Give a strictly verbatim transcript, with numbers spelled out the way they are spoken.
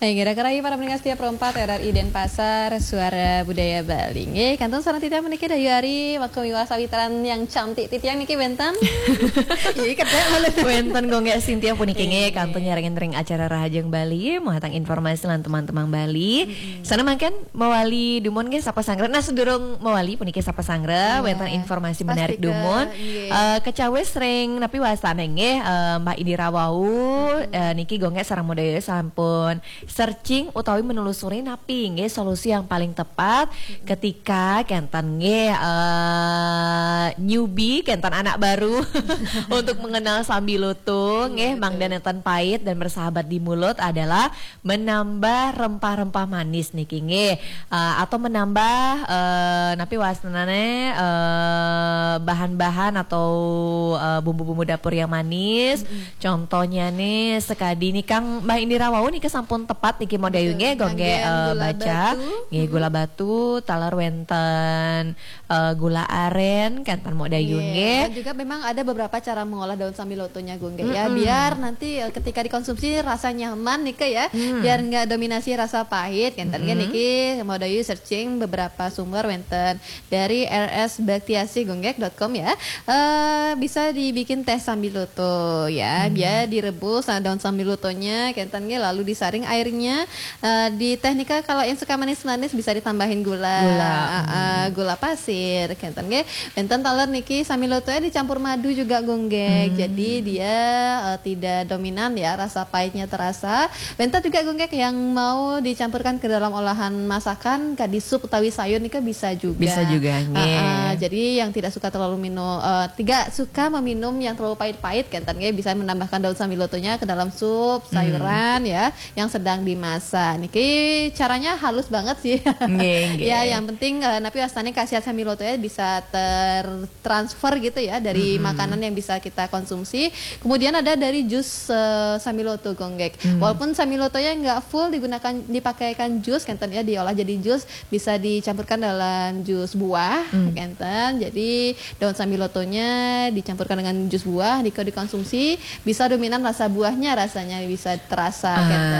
Hai, kira-kira para pendengar setia Pro empat R R I Denpasar, Suara Budaya Bali. Nggih, kantun sareng titiang puniki dayu ari, waktu miwah sawitran yang cantik titiang niki wénten. Iya, kedék malah. Wénten Gung Gék Sintia puniki nggih, kantun nyarengin ring acara Rahajeng Bali, muhatang informasi lan teman-teman Bali. Sana mangkin mawali dumun nggih sapa sanggra. Nah, sedurung mawali puniki sapa sanggra, wénten informasi menarik dumun. Eh, kecawis ring napi wastané nggih, eh, Mbak Indira wau, eh, niki Gung Gék sareng Modaya sampun searching utawi menelusuri napi nggih solusi yang paling tepat ketika kenten nggih, eh, newbie, kenten anak baru untuk mengenal sambiloto nggih, mangda nenten pait dan bersahabat di mulut adalah menambah rempah-rempah manis niki nggih. Eh, atau menambah, eh, napi wastanane, eh, bahan-bahan atau, eh, bumbu-bumbu dapur yang manis. Contohnya nih sekadi nih Kang Mbah Indira wau niki sampun tepat niki Modaya nggih, Gung Gék, eh, baca nggih gula batu taler wénten, eh, gula aren kenten Modaya nggih. Dan juga memang ada beberapa cara mengolah daun sambilotonya Gung Gék ya, biar nanti, eh, ketika dikonsumsi rasa nyaman nika ya, biar nggak dominasi rasa pahit kenten nggih. Niki Modaya searching beberapa sumber wénten dari R S Baktiasih Gung Gék dot com ya. Eh, bisa dibikin teh sambiloto ya. Biar direbus, nah, daun sambilotonya kenten nggih, lalu disaring airnya. Eh, di teh nika kalau yang suka manis-manis bisa ditambahin gula. Gula. Ah, ah, gula pasir kenten nggih. Wénten taler niki sambilotonya dicampur madu juga Gung Gék. Jadi dia, eh, tidak dominan ya, rasa pahitnya terasa. Wénten juga Gung Gék yang mau dicampurkan ke dalam olahan masakan, kadi sup utawi sayur nika bisa juga. Bisa juga nggih. Ah, ah, jadi yang tidak suka terlalu minum, eh, tidak suka meminum yang terlalu pahit-pahit kenten nggih, bisa menambahkan daun sambilotonya ke dalam sup sayuran ya yang sedang dimasak. Niki caranya halus banget sih. Nggih, nggih. Ya, yang penting, eh, napi wastané khasiat sambilotonya bisa tertransfer gitu ya dari makanan yang bisa kita konsumsi. Kemudian ada dari jus, eh, sambiloto Gung Gék. Walaupun sambilotonya nggak full digunakan, dipakaikan jus kenten ya, diolah jadi jus, bisa dicampurkan dalam jus buah kenten. Jadi daun sambilotonya dicampurkan dengan jus buah, nika dikonsumsi, bisa dominan rasa buahnya, rasanya bisa terasa kenten.